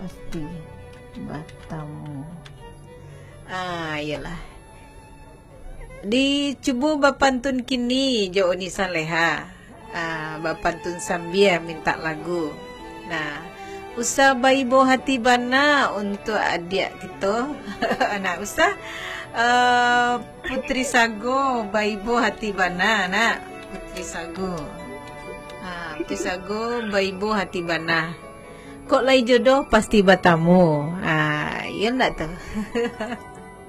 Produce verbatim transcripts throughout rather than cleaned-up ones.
Pasti batamu. Ah, iyolah. Dicubo bapantun kini jo Uni Saleha. Ah, bapantun sambia mintak lagu. Nah, usah baibo hati bana untuak adiak kito. Nah, usah, ah, Putri Sago baibo hati bana, nak. Putri Sago. Ah, Putri Sago baibo hati bana. Kok lai jodoh pasti batamu. Ah, iyo ndak tu?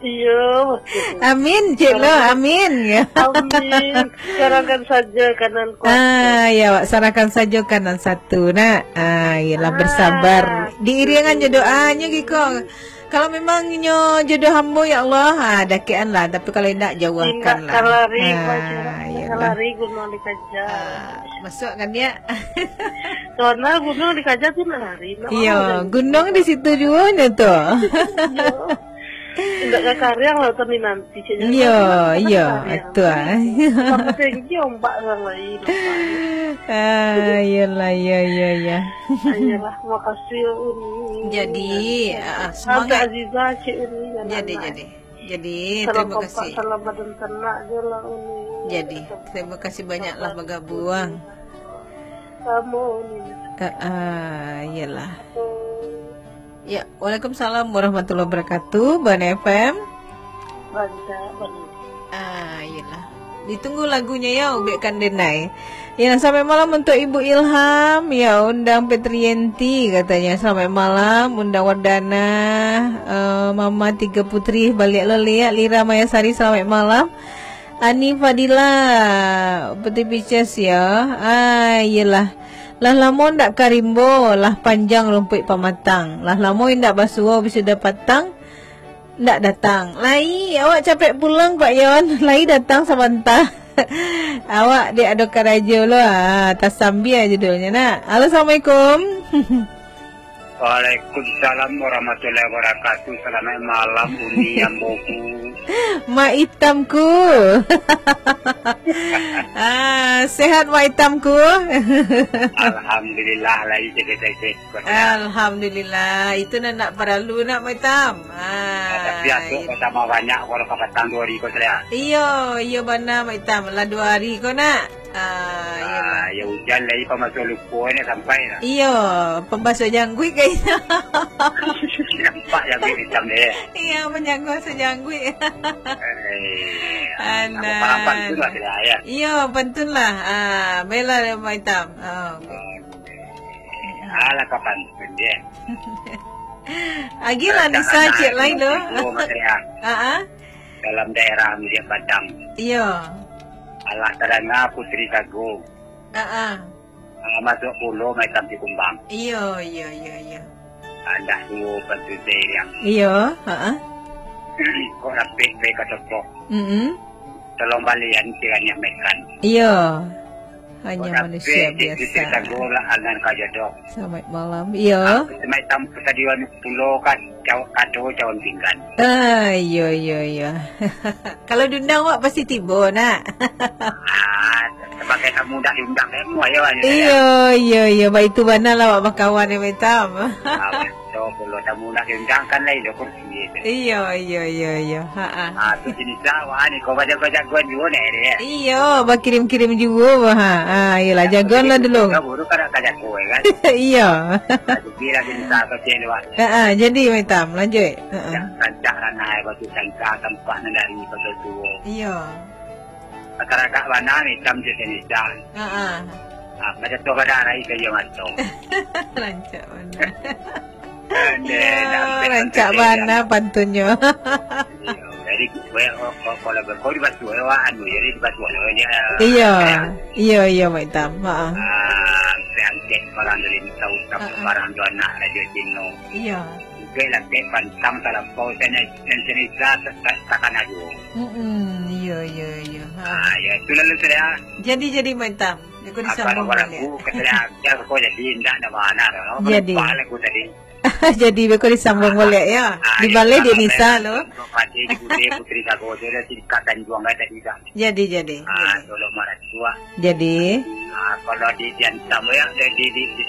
Iyo, maksudnyo. Amin, cik lo, amin. Amin. Sarahkan sajo kanan kuaso. Ah, ya, awak sarahkan sajo kanan satu, nak. Ah, iyolah, bersabar. Diiringan jo doanyo, Giko. Kalau memang nyo jodoh ambo, ya Allah, ah, dakekan lah. Tapi kalau indak, jauahkan lah. Indak kalari, ah, iyolah. Kalari gunuang dikaja. Ah, masuk kan, ya? Karena gunuang dikaja tu nak lari, nak. Iyo, gunuang di situ juo nyo tu. Iyo. Indak ka kariang lautan di nanti, caknyo. Iyo, iyo, betul, ah. Tambah tinggi ombak urang lain. Ah, iyolah, iyo, iyo, iyo. Iyolah, makasih, Uni. Jadi, ah, semangat. Tante Aziza, Cik Uni, dan anak. Jadi, jadi. Jadi, terima kasih. Salam kompak, salam badan tanak je lah, Uni. Jadi, terima kasih banyaklah bagabuang. Samo, Uni. Ah, ah, iyolah. Ya, waalaikumsalam warahmatullahi wabarakatuh, Bana F M. Rancak, Bana. Ah, iyolah. Ditunggu lagunyo ya, Ubek Kandenai. Ya, selamat malam untuk Ibu Ilham. Ya, undang Petrienti katanya. Selamat malam, undang Wardana, eh, Mama Tiga Putri, baliak lo liak, Lira Mayasari, selamat malam. Ani Fadila, Putri Pices ya. Ah, iyolah. Lah lamo ndak ka rimbo, lah panjang rumpuik pamatang. Lah lamo indak basuo, wisuda patang, ndak datang. Lai, awak capek pulang, Pak Yon. Lai datang sabanta. Awak dek ado karajo lo, ah, Tasambia judulnyo, nak. Halo, assalamualaikum. Waalaikumsalam warahmatullahi wabarakatuh. Salamaik malam, Uni amboku. Mak Itamku. Ah, sehat, Mak Itamku? Alhamdulillah, lai sehat-sehat. Alhamdulillah. Itu nan nak paralu nak, Mak Itam. Ah, tapi asok pertama banyak kalau kapatang duo hari ko salah. Iyo, iyo bana, Mak Itam. Lah duo hari ko nak. Ah, iyolah. Ah, ya ujan lai, pambaso luko ni sampai lah. Iyo, pambaso jangguik kayaknyo. Nampak jangguik itam deh. Iyo, pambaso jangguik. Eh, ah, alah. Nama parang pantun lah, tidak, ya? Iyo, pantun lah. Ah, bela Mak Itam. Oh. Alah, ka pantun deh. Agilah Nisa cik lain tu. Mak Itam. Ah, ah. Dalam daerah Mudiak Padang. Iyo. Alah tadanga Putri Sago. Ah, ah. Ah, masuak pulo Mak Itam Sikumbang. Iyo, iyo, iyo, iyo. Andak duo pantun sairiang. Iyo, ha ah. Kok rapek bae ka toko. Mm-mm. Tolong balian kiranya makan. Iyo. Hanya manusia biasa. Kok rapek di Putri Sago lah angan ka jodoh. Selamat malam. Iyo. Ah, Mak Itam Sikumbang pulo ka cawan, kado cawan pinggan. Ah, iyo, iyo, iyo. Kalau diundang awak pasti tibo, nak. Ah, sabagai tamu ndak diundang, eh, mu ayo aja. Iyo, iyo, iyo. Baitu bana lah awak bakawan, eh, Mak Itam. Ah, betul, kalau tamu ndak diundang kan lain dah kursi, eh. Iyo, iyo, iyo, iyo. Ha ah. Ah, tu jenis lah, wah, ni kau bajago-jagoan juo ni, eh. Iyo, bakirim-kirim juo, ha. Ah, iyolah, jagoan lah dulu. Kau buru kada ka jago, eh, kan? Iyo. Jadi lah jenis lah kau cek ni, wah. Ha ah, jadi Mak Itam, lanjut. Heeh. Rancak ranai batu sangka, tampak nan dari batu tuo. Iyo. Masyarakat bana Mak Itam je Indonesia. Heeh. Ah, macam tu kada arai ka iyo mato. Rancak bana. Iyo, rancak bana pantunnyo. Iyo, jadi, we, oh, oh, kalau berkau di batu, eh, wah, anu, jadi di batu, eh, ya. Iyo, iyo, iyo, Mak Itam. Heeh. Ah, angkek barang dari tahu, tahu barang tu anak Rajo Cino. Iyo. Oke lah, kek pantang talampau, saya nan cerita takana juo. Mm-mm, iyo, iyo, iyo. Ha. Ah, ya, itu lalu saya. Jadi, jadi, Mak Itam. Aku disambung balik. Aku kata dia, aku jadi indak ada mana, no? Jadi. Lupa lah aku tadi. Jadi, beko disambung balik, ya. Ah, dibalai di Nisa, lo. Pati di Putri, Putri Sago, dia dah tingkat dan juang tadi dah. Jadi, jadi, ah, jadi. Tolong marah tua. Jadi. Ah, kalau di, diantam, ya, di, di, di, di,